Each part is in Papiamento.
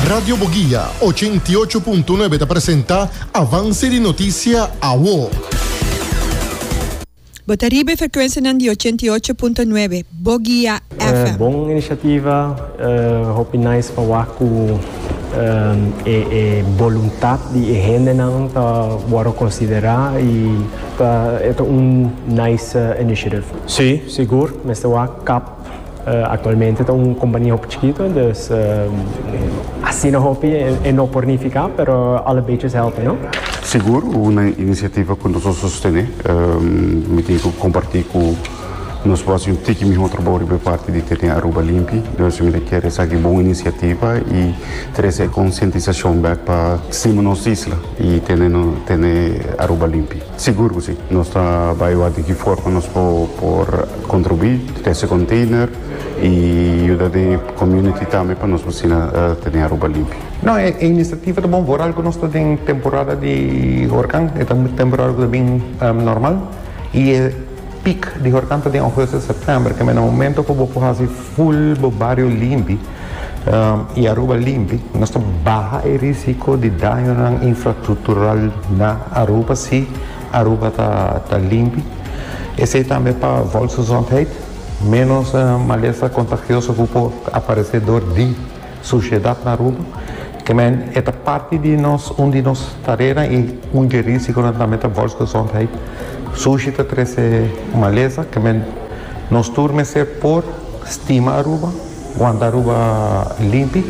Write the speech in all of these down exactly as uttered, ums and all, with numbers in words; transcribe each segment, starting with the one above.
Radio Boguia ochenta i ocho punto nuebe ta presenta Avance di Noticia Awo. Bo ta riba frecuencia di ochenta i ocho punto nuebe, Boguia Eh, F M. Bon iniciativa, uh, hopi nice pa wak cu um, e, e voluntad di hendenan ta wordo considera y ta e un nice uh, initiative. Si, sigur, mester wak C A P uh, actualmente ta un compania hopi chikito, dus uh, asina hopi e, e no por nifica, pero alle beetjes helpen, no? Sigur, un iniciativa cu nos ta sostene, um, mi tin cu comparti cu nos por un tiki miho trabou di parti di tene Aruba limpi. Dus mi kier esaki bon iniciativa y trece concientisacion back pa stima nos isla y tene tene Aruba limpi. Sigur cu si. Nos ta bay di ki forma nos por, por contribui, trece container y yuda e community tambe pa nos asina uh, tene Aruba limpi. No, e, e iniciativa ta bon, vooral cu nos ta den temporada di horcan, e temporada cu bin um, normal y e peak di horcan ta den augustus, september, cu na momento cu bo haci full bo bario limpi um, y Aruba limpi, nos ta baha e risico di daño infrastructural na Aruba, si Aruba ta ta limpi. Esey tambe pa volksgezondheid, menos uh, malesa contagioso cu por aparece door di sushedad na Aruba. Kiermen, e parti di nos, un di nos tarea y un di risico tambe ta volksgezondheid. Sushi ta trece malesa, kiermen nos tur mester por stima Aruba, wanta Aruba limpi,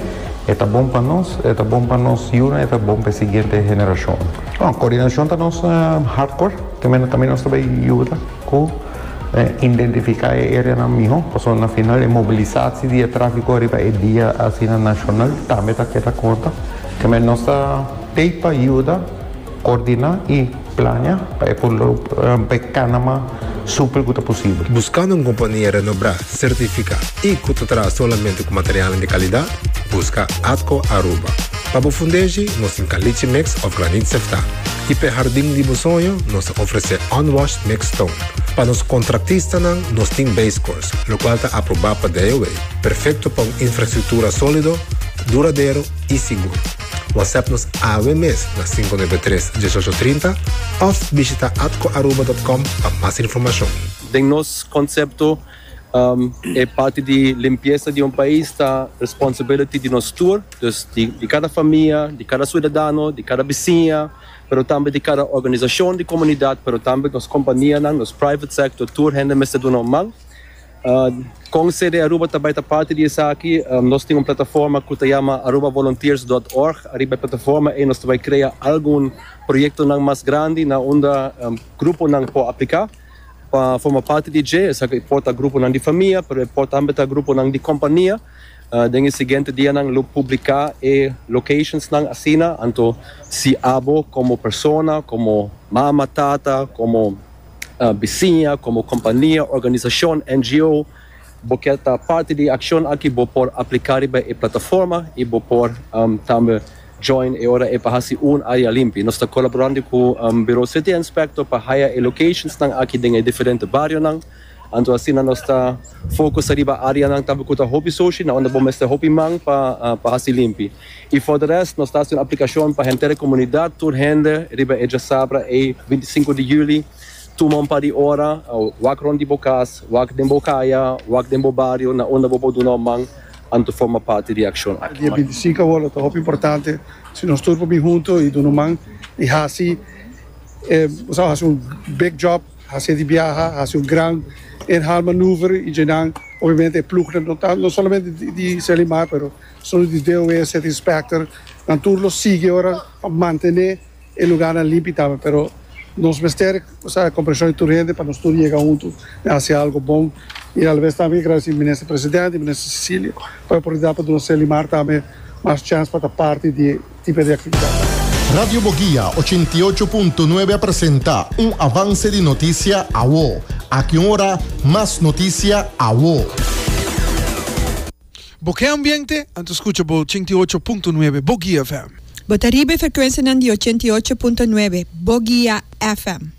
ta bon pa nos, ta bon pa nos y ta bon pa e siguiente generacion. Bon, coordinacion ta nos uh, hardcore, tambe tambe nos tambe ta yuda cu eh, identifica e area nan miho, pasobra na final e mobilisatie di trafico riba e dia asina nacional tambe ta keda conta. Kiermen nos ta pa yuda coordina y planea pa pa cana mas super cu posibel. Buscando un compania renombra, certifica y cu ta traha solamente cu material di calidad? Busca Atco Aruba. Pa bo fundeshi, nos tin caliche mix of graniet sefta. Y pa hardin di soño, nos ta ofrece unwashed mixed stone. Pa nos contratistanan, nos tin base course, locual ta aproba pa D O W. Perfecto pa un infrastructura solido, duradero y sigur. WhatsApp nos awe mes na cinco nuebe tres uno ocho tres cero of bishita atcoaruba punto com pa mas informacion. Den nos concepto, um, e parti di limpiesa di un pais ta responsabilidad di nos tur, dus di, di cada famia, di cada ciudadano, di cada bisiña, pero tambe di cada organisacion di comunidad, pero tambe nos compania, nos private sector, tur hende mester duna un man. Uh, con C D Aruba tambe ta parti di esaki, um, nos tin un plataforma cu ta yama arubavolunteers punto org. Ariba e plataforma ey nos ta bay crea algun proyecto nan mas grandi na unda um, grupo nan por aplica pa forma parti di dje. Esaki por ta grupo nan di famia, pero por tambe ta grupo nan di compania. Uh, den e siguiente dia nan lo publica e locations nan asina, anto si abo como persona, como mama, tata, como uh, bisiña, como compania, organisacion, N G O, bo kier ta parti di e accion aki, bo por aplica riba e plataforma y bo por um, tambe join e ora e pa hasi un area limpi. Nos ta colaborando cu um, Bureau City Inspector pa haya e locations nan aki den e diferente barrio nan. Anto asina nos ta focus riba area nan tambe cu ta hopi sushi, na unda bo mester hopi man pa uh, pa hasi limpi. Y for the rest, nos ta un aplicacion pa henter comunidad, tur hende, riba e diasabra e binticinco di juli, tuma un par di ora, wak rond di bo cas, wak den bo caya, wak den bo bario, na unda bo por duna man, anto forma parti di e accion aki. Dia binticinco awor ta hopi importante si nos tur bin hunto y duna man y hasi eh, osea, hasi un big job, hasi di biaha, hasi un gran inhaalmanoeuvre y dan obviamente ploeg no, no solamente di, di Serlimar, pero solo di D O W, City Inspector, nan tur lo sigui ora pa mantene e lugar nan limpi tambe, pero nos mester, osea, comprension di tur hende pa nos tur yega hunto y hasi algo bon. Y alabes tambe gradici minister presidente y minister Cecilia pa e oportunidad pa nos Serlimar tambe mas chance pa parti di e tipo di actividad. Radio Boguia ochenta i ocho punto nuebe presenta un avance di noticia awo. Aki ora, mas noticia awo. Bo kier ambiente? Anto scucha bo ochenta i ocho punto nuebe Boguia F M. Bo ta riba frecuencia di ochenta i ocho punto nuebe, Boguia F M.